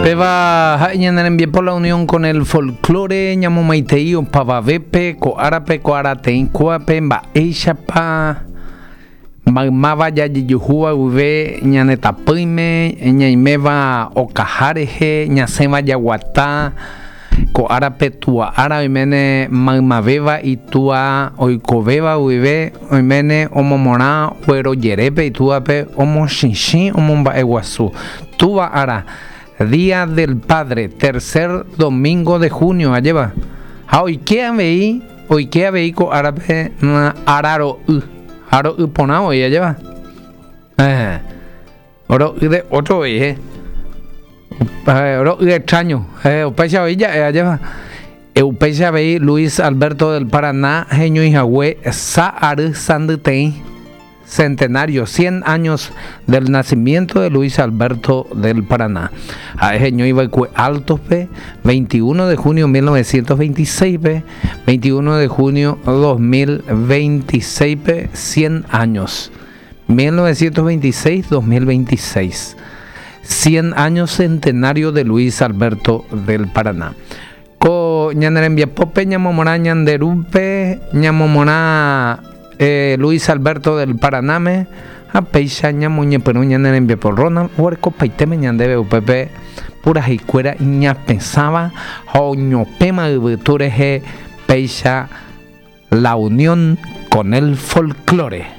Péva ha'e ñane rembiapo La Unión con el Folklore ñamomaitei opavavépe ko árape ko arateĩ kóvape mba'éichapa maymáva jajejuhúva guive ñane tapỹime ñaiméva okaha rehe ñasẽva jaguata Ko árape túa ára oiméne maymavéva itúa oikovéva guive oiméne omomorã guerojerépe itúape omochichĩ omomba'eguasu. Túva ára, Día del Padre, tercer domingo de junio, ajépa. Ha oike avei, oike avei ko árape ára ro'y, ha ro'y porã voi, ajépa. Héẽ. Ro'y de otro voi, eh. Ro'y extraño. Eh, upéicha voi ja'e ajépa. Eh, upéicha avei Luis Alberto del Paraná heñói hague sa ary sandyteĩ centenario, 100 años del nacimiento de Luis Alberto del Paraná. Ha'e heñói va'ekue Altos-pe 21 de junio 1926-pe, 21 de junio 2026-pe, 100 años. 1926, 2026. 100 años centenario de Luis Alberto del Paraná. Ko ñane rembiapópe ñamomorã ñande rúpe, ñamomorã eh, Luis Alberto del Paranáme, ha péicha ñamoñepyrũ ñane rembiapo. Ronald oguerekopaitéme ñandéve upépe puraheikuéra iñapesãva ha oñopẽma yvytu rehe péicha La unión con el folklore.